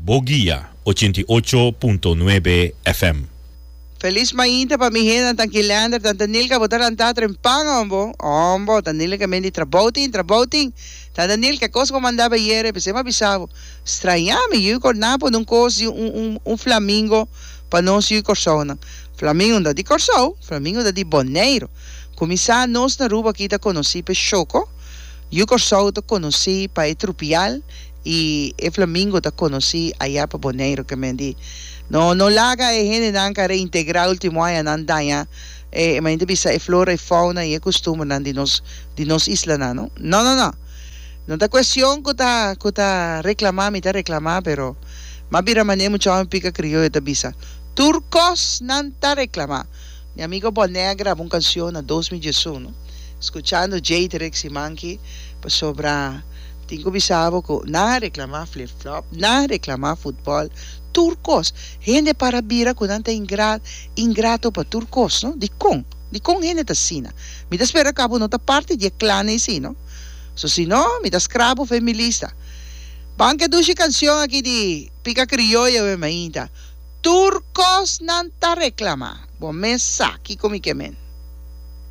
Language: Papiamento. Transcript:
Bo Guia 88.9 FM. Felis mainta pa mi hendenan Tanki Lander, Tanta Nilka bo ta lantá trempan hombo, hombo, Tanta Nilka men di trabou tin, trabou tin, Tanta Nilka e kos ku manda bo ayera p'esei mi a bisa bo, strañá mi yu kor nan a pone un kos di un un un flamingo pa nos yu Kòrsounan, flamingo no ta di Kòrsou, flamingo ta di Boneiru, kuminsá nos na Aruba aki ta konosí p'e shoko, yu Kòrsou ta konosí pa e trupial, I e flamingo ta konosí ayá pa Boneiru ke men di no no laga e hendenan ka reintegrá ultimo añanan daña e manera ta bisa e flora i fauna i e kustumbernan di nos di nos islanan no no no no no ta kuestion ku ta ku ta reklamá mi ta reklamá pero m'a bira manera mucha hòmber pika krioyo ta bisa tur kos nan ta reklamá mi amigo Bonè a graba un kansion na 2011 skuchando Jade Rexy Manki pasobra. Tin ku bisa bo ku nan a reklamá flip flop, nan a reklamá futbòl, tur kos. Hende para bira ku nan ta ingra ingrato pa tur kos, no? Dikon? Dikon hende ta asina? Mi ta spera ku abo no ta parti di e klan ei si, no? So si no, mi ta skrap bo for e mi lista. Ban ke dushi kanshon aki di Pika Krioyo we mainta. Tur kos nan ta reklamá. Bo mes sa kiko mi ke men.